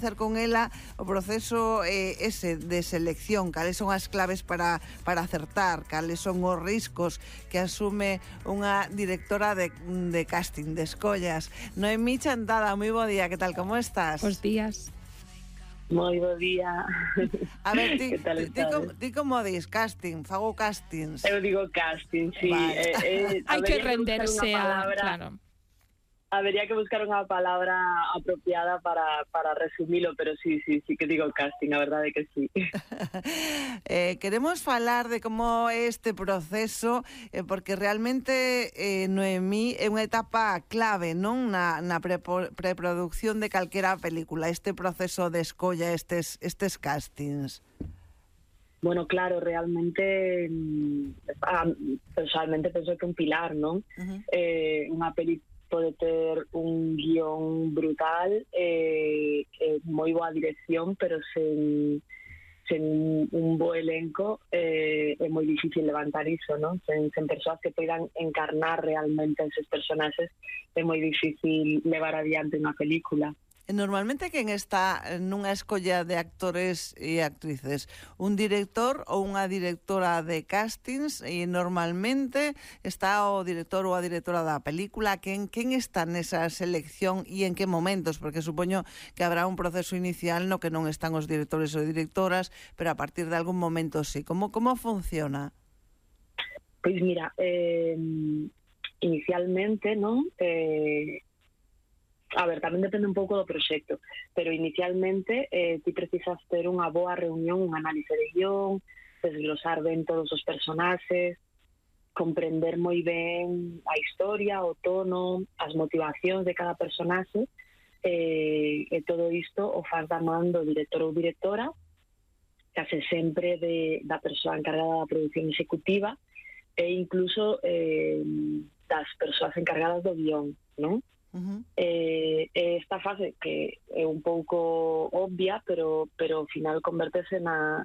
coñecer con ela o proceso ese de selección, cales son as claves para acertar, cales son os riscos que asume unha directora de casting, de escollas. Noemí Chantada, moi bo día, que tal, como estás? Bos días. Moi bo día. A ver, ti como dis? Casting, fago castings. Eu digo casting, sí. Vale. Hai que renderse a... Claro. Habería que buscar unha palabra apropiada para resumilo, pero sí que digo casting, a verdade que sí. Queremos falar de como é este proceso, porque realmente, Noemí, é unha etapa clave, non? Na preproducción de calquera película, este proceso de escolla, estes castings. Bueno, claro, realmente, personalmente penso que un pilar, non? Unha película pode ter un guión brutal, moi boa dirección, pero sen un bo elenco é moi difícil levantar iso, non? Sen persoas que poidan encarnar realmente esos personaxes é moi difícil levar adiante unha película. Normalmente quen está nunha escolla de actores e actrices? Un director ou unha directora de castings? E normalmente está o director ou a directora da película. Quen está nesa selección e en que momentos? Porque supoño que habrá un proceso inicial no que non están os directores ou directoras, pero a partir de algún momento sí. Como funciona? Pois mira, inicialmente, non? A ver, tamén depende un pouco do proxecto, pero inicialmente ti precisas ter unha boa reunión, un análise de guión, desglosar ben todos os personaxes, comprender moi ben a historia, o tono, as motivacións de cada personaxe, e todo isto o faz da man do director ou directora, case sempre da persoa encargada da produción executiva e incluso das persoas encargadas do guión, non? Esta fase que é un pouco obvia, pero ao final convertese na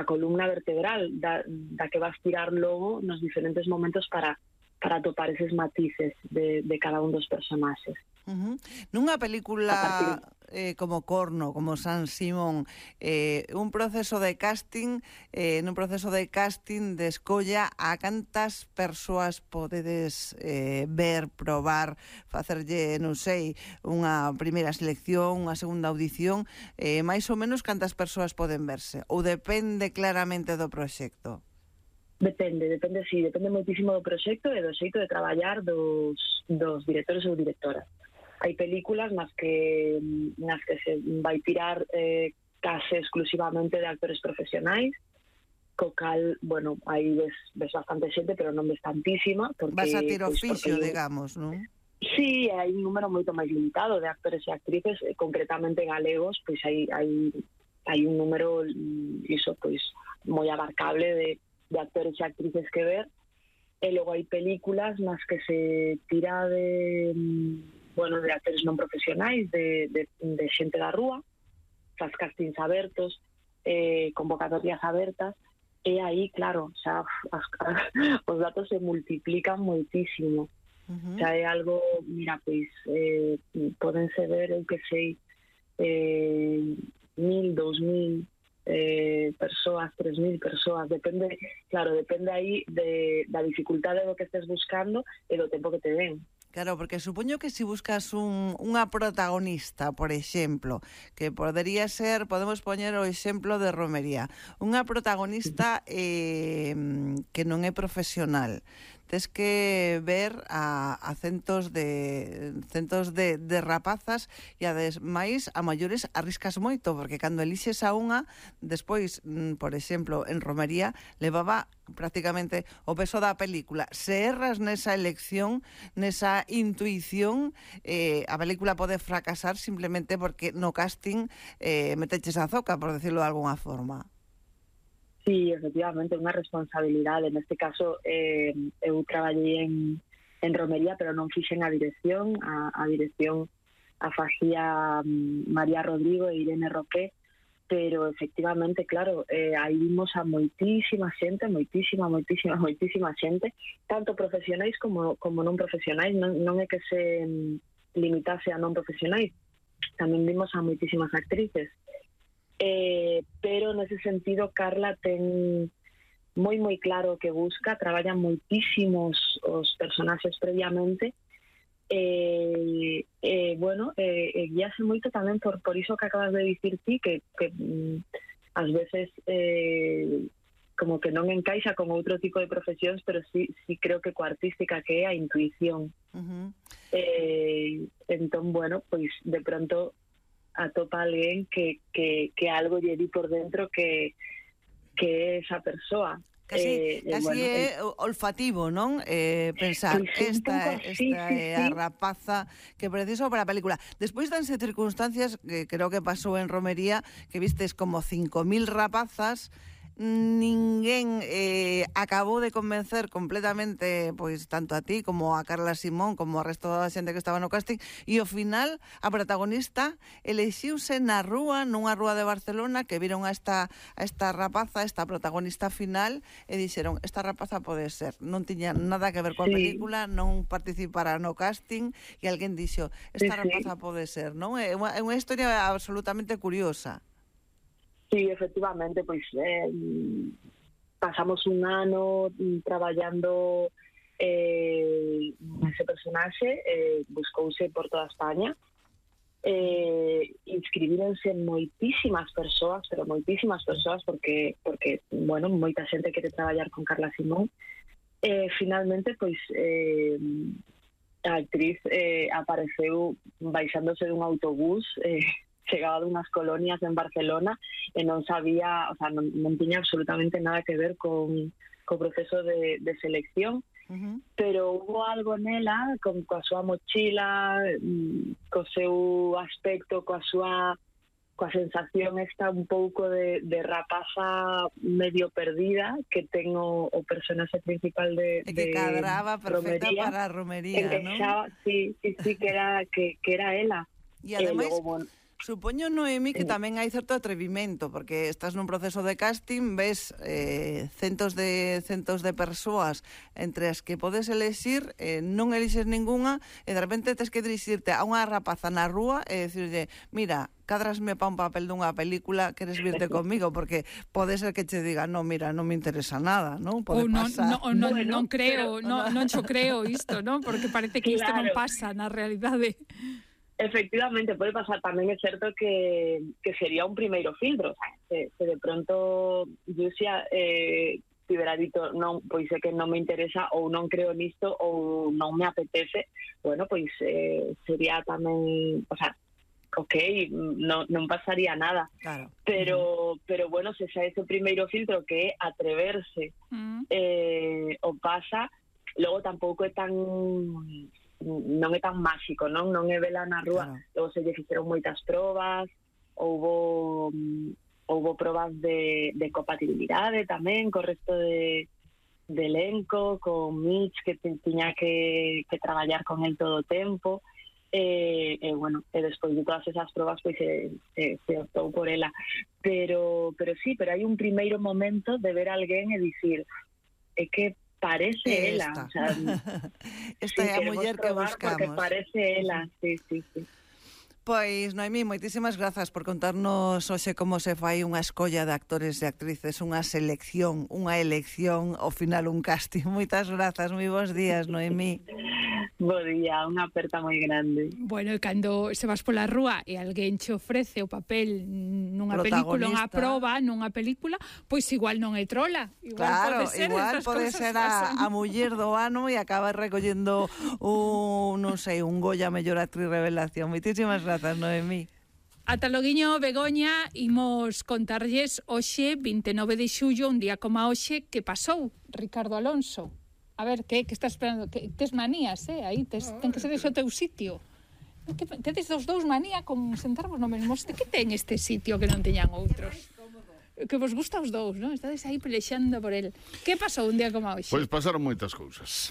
columna vertebral da que vas tirar logo nos diferentes momentos para atopar eses matices de cada un dos personaxes. Nunha película como Corno, como San Simón, un proceso de casting, nun proceso de casting de escolla, a cantas persoas podedes ver, probar, facerlle, non sei, unha primeira selección, unha segunda audición, máis ou menos cantas persoas poden verse? Ou depende claramente do proxecto? Depende moitísimo do proxecto e do xeito de traballar dos directores ou directoras. Hai películas nas que se vai tirar case exclusivamente de actores profesionais, co cal, bueno, aí ves bastante xente, pero non ves tantísima. Vas a ter oficio, digamos, non? Sí, hai un número moito máis limitado de actores e actrices, concretamente galegos, pois hai un número, iso, pois, moi abarcable de actores e actrices que ver, e logo hai películas nas que se tira de actores non profesionais, de xente da rúa, faz castings abertos, convocatorias abertas, e aí, claro, xa os datos se multiplican moitísimo. Xa é algo, mira, pois podense ver, eu que sei, 1.000, 2.000 persoas, 3.000 persoas, depende aí da dificultade do que estés buscando e do tempo que te den. Claro, porque supoño que se buscas unha protagonista, por exemplo, que podería ser, podemos poñer o exemplo de Romería, unha protagonista que non é profesional. Tes que ver a centos de rapazas e ademais a maiores arriscas moito, porque cando elixes a unha, despois, por exemplo, en Romería levaba prácticamente o peso da película. Se erras nesa elección, nesa intuición, a película pode fracasar simplemente porque no casting meteches a zoca, por decirlo de alguna forma. Sí, efectivamente, unha responsabilidade. Neste caso, eu traballei en Romería, pero non fixen a dirección. A dirección a facía María Rodrigo e Irene Roqué, pero efectivamente, claro, aí vimos a moitísima xente, moitísima xente, tanto profesionais como non profesionais. Non é que se limitase a non profesionais, vimos a moitísimas actrices. Pero nese sentido Carla ten moi claro o que busca, traballa moitísimos os personaxes previamente, guíase moito tamén por iso que acabas de dicir ti, que ás veces como que non encaixa con outro tipo de profesións, pero sí creo que coa artística que é a intuición. Entón, bueno, pois de pronto atopa alguén que algo lle di por dentro que é esa persoa. Casi é olfativo, non? Pensar, esta é a rapaza que preciso para a película. Despois danse circunstancias que creo que pasou en Romería, que vistes como 5.000 rapazas, ninguén acabou de convencer completamente, pois tanto a ti como a Carla Simón como ao resto da xente que estaba no casting, e ao final a protagonista elexiuse nunha rúa de Barcelona, que viron a esta rapaza, esta protagonista final, e dixeron, esta rapaza pode ser, non tiña nada que ver coa película, non participara no casting, e alguén dixo, esta rapaza pode ser, non? É unha historia absolutamente curiosa. Sí, efectivamente, pois pasamos un ano traballando ese personaxe, buscouse por toda España, inscribíronse moitísimas persoas, porque bueno, moita xente quere traballar con Carla Simón. Finalmente, pois a actriz apareceu baixándose dun autobús, chegaba dunhas colonias en Barcelona e non sabía, o sea, non tiña absolutamente nada que ver con o proceso de selección, pero hubo algo nela, coa súa mochila, co seu aspecto, coa sensación esta un pouco de rapaza medio perdida que ten o personaxe principal de que cadraba perfecta Romería, para a Romería, non? Sí, que era ela. E ademais, supoño, Noemí, que tamén hai certo atrevimento, porque estás nun proceso de casting, ves centos de persoas entre as que podes elexir, non elixes ninguna, e de repente tens que dirixirte a unha rapaza na rúa e dicirlle, mira, cadrasme pa un papel dunha película, queres virte comigo, porque pode ser que che diga, no, mira, non me interesa nada, non? Pode pasar. Non creo, non xo creo isto, non? Porque parece que isto non pasa na realidade. Efectivamente, pode pasar. Tamén é certo que sería un primeiro filtro, o sea, se de pronto Yusia tivera dito, non, pois é que non me interesa ou non creo nisto ou non me apetece, bueno, pois sería tamén, o sea, non pasaría nada. Claro. Pero bueno, se xa ese primeiro filtro que é atreverse o pasa, logo tampouco é tan non é tan máxico, non é vela na rúa. Claro. Logo se lle fixeron moitas probas, houbo probas de compatibilidade tamén co resto de elenco, con Mitch, que tiña que traballar con el todo o tempo, bueno, e despois de todas esas probas pois se optou por ela, pero hai un primeiro momento de ver a alguén e dicir, é que parece ela, o sea, esta é a muller que buscamos. Porque parece ela, sí. Pois, Noemí, moitísimas grazas por contarnos hoxe como se fai unha escolla de actores e actrices, unha selección, unha elección, ao final un casting. Moitas grazas, moi bons días, Noemí. Bo día, unha aperta moi grande. Bueno, e cando se vas pola rúa e alguén che ofrece o papel nunha película, unha proba, nunha película, pois igual non é trola. Igual pode ser a muller do ano e acaba recollendo un Goya mellor actriz revelación. Moitísimas grazas, Noemí. Ata loguiño, Begoña, imos contarlles hoxe, 29 de xullo, un día como hoxe, que pasou Ricardo Alonso. A ver, que estás esperando? Tes manías, aí ten que ser ese o teu sitio. Tedes dos dous manía con sentarvos no mesmo. Que ten este sitio que non teñan outros? Que vos gusta os dous, non? Estades aí pelexando por el. Que pasou un día como hoxe? Pois pasaron moitas cousas.